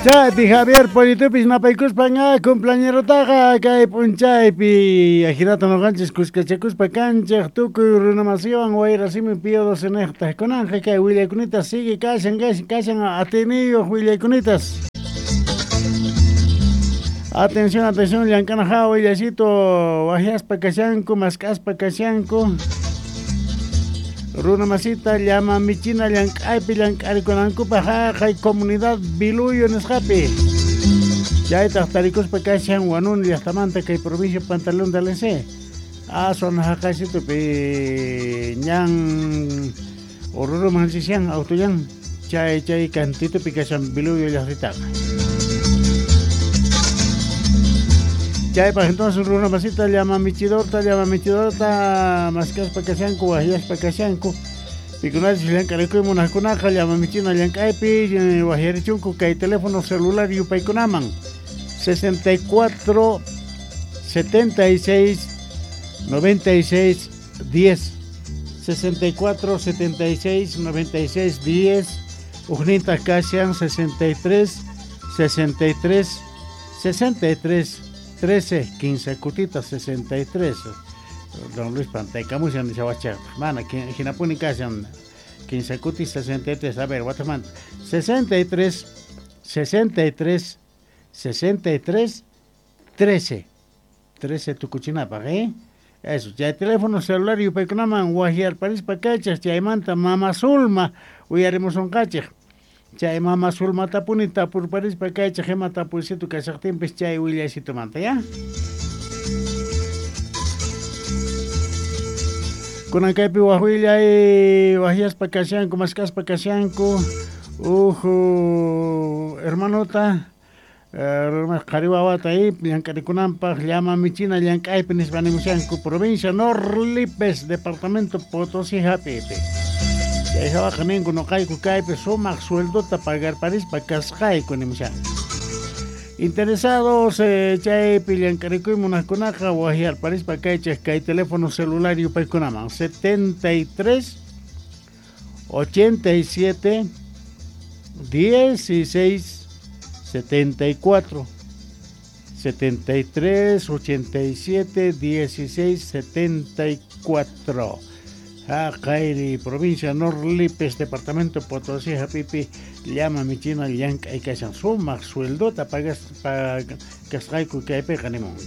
Chaypi Javier Pollitupis napaykuspan cumpleañerotaqa kay p'unchaypi ajinata noqanchis kuskachakuspa kanchej tukuy runamasiwan wayrasimi Pío XII kunanqa kay willaykunita sigue kashan kashan atiniyuq willayunitas. Atención, atención, llank'ana hawa willasito wajyaspa kashanku, mask'aspa kashanku. Runa masita llama michina llank'aypi llank'arikunankupaq haqay comunidad Biluyo nisqapi. Chaytaq tarikuspa kashan Huanuni llaqtamanta kay provincia Pantaleón de Alense. Aswan haqaysitupi ñan Oruruman rishan autollan chay chay kantitupi kashan Biluyo llaqtitaqa. Chaypaq entonces runa masita llama michidorta maskaspa kashanku wajyaspa kashanku pikunachus llank'arikuy munaqkunaqa llama michina llank'aypi wajyarichunku kay teléfono celular yupaykunaman 64 76 96 10 64 76 96 10 ujnintaj kashan 63 63 63 13 15 kutita 63 Don Luis Pantaykamushan nishawacha mana hinapuni kashan 15 kuti 63 a ver watamanta 63 63 63 13 13 tukuchinapaq Eso, chay teléfono celular yupaykunaman wajyarparispa kachaj chaymanta mama Zulma uyarimusunqachej chay mama Zulmatapuni tapurparispa kachaj ima tapuysitu kashaqtinpis chay willaysitumanta ya. Kunan kaypi waj willay wajyaspa kashanku mask'aspa kashanku uj hermanota qhari wawata llank'arikunanpaq llama michina llank'aypi nispa nimushanku provincia Norlipes departamento Potosí hapipi. Chay hawaqa ninku noqayku kaypi sumaq sueldota pagarparispa kasqayku nimushanku. Interesados chaypi llank'arikuy munaqkunaqa wajyarparispa kaychej kay teléfono celular yupaykunaman 73 87 16 74 73 87 16 74 Haqayri provincia Norlipes departamento Potosí hapipi llama michina llank'ay kashan sumaq sueldota pagas kasqayku kaypiqa nimunku.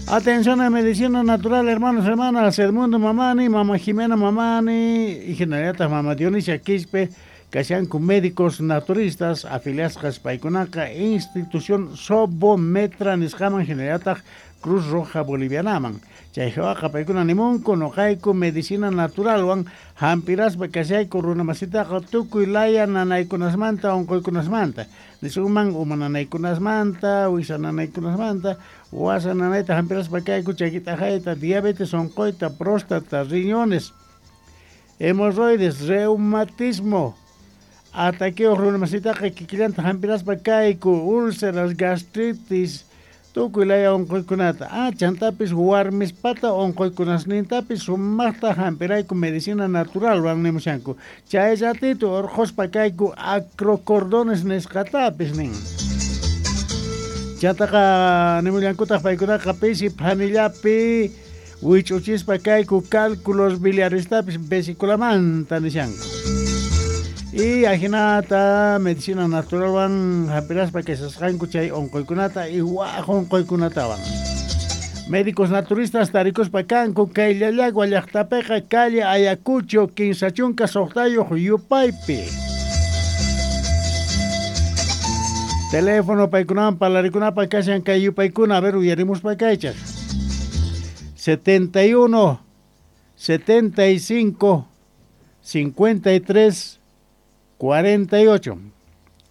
Atención a medicina natural, hermanos, hermanas, Edmundo Mamani, Mama Jimena Mamani y generalata Mama Dionisia Quispe kashanku médicos naturistas afiliasqas paykunaqa institución Sobometra nisqaman generalata Cruz Roja Bolivianaman. Chay hawaqa paykuna nimunku noqayku medicina naturalwan hampiraspa kashayku runamasitaqa tukuy laya nanaykunasmanta unquykunasmanta nisunman uma nanaykunasmanta wisa nanaykunasmanta wasa nanayta hampiraspa kayku chakit'aqayta diabetes unquyta próstata riñones hemorroides reumatismo ataqueo runamasitaqa kikillanta hampiraspa kayku úlceras gastritis tukuy laya unquykunata chantapis warmispata unquykunasnintapis sumaqta hampirayku medicina naturalwan nimushanku chay ratito urquspa kayku acrocordones nisqatapis nin. Chantaqa nimullankutaq paykunaqa pisi phanillapi wich'uchispa kayku cálculos biliarestapis vesiculamanta nishanku. Y ajinata medicina naturalwan hampiraspa kashasqanku chay unquykunata y waj unquykunatawan. Médicos naturistas tarikuspa kanku kay Llallagua llaqtapiqa calle Ayacucho 36 yupaypi. Teléfono paykunawan parlarikunapaq kashan kay yupaykuna a ver uyarimuspa kaychaj 71 75 53 48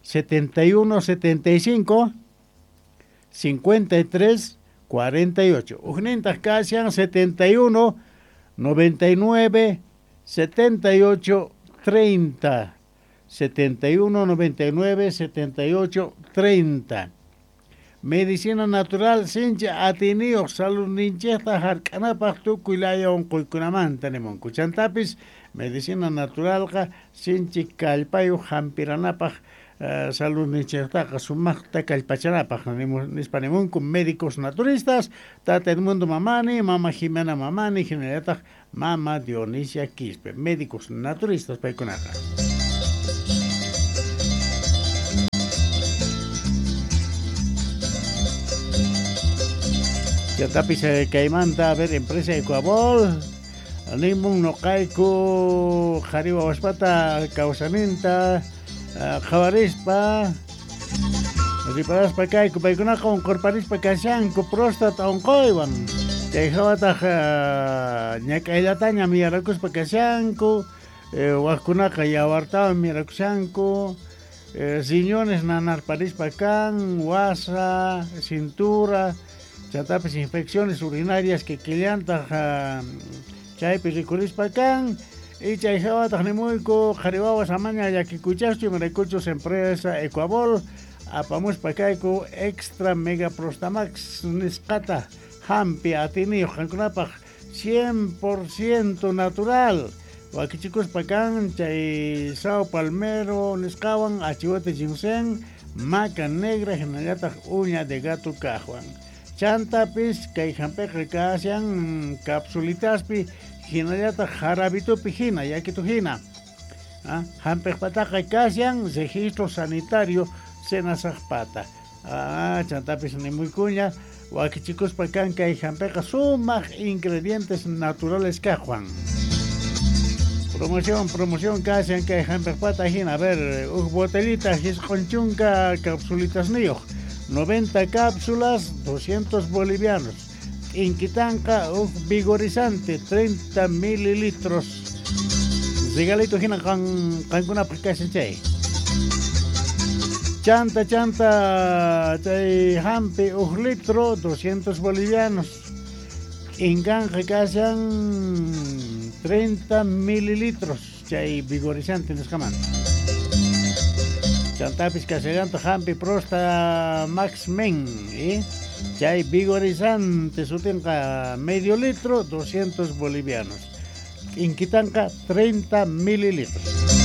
71 75 53 48 Ujnintaj kashan 71 99 78 30 71 99 78 30 Medicina natural sincha atiniyuq saludninchikta hark'anapaq tukuy laya unquykunamanta nimunku. Chantapis medicina naturalqa sinchi kallpayuq hampiranapaq Saludninchiktaqa sumaqta kallpachanapaq nispa nimunku médicos naturistas, Tata Edmundo Mamani, Mama Jimena Mamani, hinallataq Mama Dionisia Quispe, médicos naturistas paykunaqa. Chantapis kaymanta, a ver, empresa Ecuabol, nimun noqayku qhari wawaspata kawsaninta qhawarispa riparaspa kayku, paykunaqa unqurparispa kashanku próstata unquywan, chay hawataq ñak'ayllataña miyarakuspa kashanku, wajkunaqa yawartawan miyarakushanku, riñones nanarparispa kan, wasa, cintura, chantapis infecciones urinarias que killantaq chaypi rikurispa kan. Y chay hawataq nimuyku qhari wawas amaña llakikuychaschu, imaraykuchus empresa Ecuabol apamuspa kayku extra mega prostamax nisqata hampi atiniyuq qankunapaq 100% natural wakichikuspa kan chay sao palmero nisqawan, achihuate ginseng, maca negra hinallataq uña de gato kaqwan. Chantapis kay hampiqa kashan capsulitaspi hinallataq jarabitupi hina, yakitu hina. Hampiqpataqa kashan registro sanitario senasaqpata. Chantapis nimuykuña wakichikuspa kan kay hampiqa sumaq ingredientes naturales kaqwan. Promoción, promoción kashan kay hampiqpata hina. A ver, uj botellita 90 capsulitas niyuq, 90 cápsulas, 200 bolivianos. Inquitanqa uj vigorizante, 30 mililitros. Regalito hina qankunapaq kashan chay. Chanta, chanta, chay hampi uj litro, 200 bolivianos. Inkanqa kashan 30 mililitros chay vigorizante nisqamanta. Chantapis kashallanta hampi prosta Max Men, Chay vigorizante sutinqa medio litro, 200 bolivianos. Inquitanqa 30 mililitros.